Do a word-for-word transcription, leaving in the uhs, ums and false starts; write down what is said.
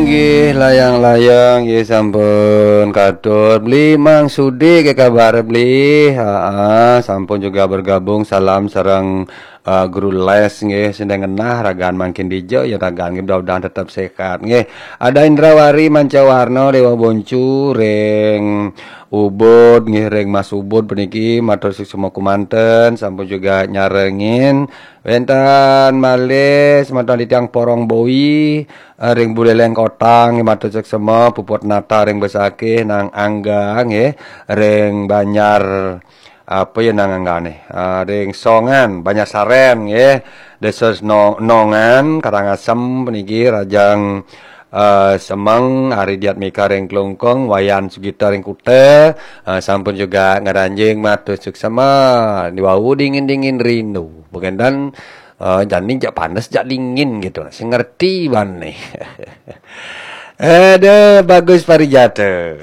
Nggih, layang-layang, nggih, sampun katur. Beli Mang Sudi, ke kabar, Beli? Haa, sampun juga bergabung. Salam sareng eh, guru les, nggih, sing ngenah ragan mangkin dija, ya ragan nggih, mudah-mudahan tetep sehat, nggih. Ada Indrawari Mancawarna, Dewa Boncu, ring Ubud, nggih, ring Mas Ubud puniki, matur suksma kumanten, sampun juga nyarengin. Wenten malih semeton titiang Porong Boi, eh, ring Buleleng Kota, nggih, matur suksma, Puput Nata ring Besakih, Nang Angga, nggih, ring Banjar, apa ya nang anggane? Ah, ring Songan, Banjarsaren, nggih. Desa No-, Nongan, Karangasem puniki, Rajang, eh, Semeng, Ari Diatmika ring Klungkung, Wayan Sugita ring Kuta, eh, sampun juga ngranjing matur suksma. Niwau dingin-dingin rindu. Bukan dan, eh, jani jak panas, jak dingin gitu. Sing ngerti bane. Ada Bagus Parijata.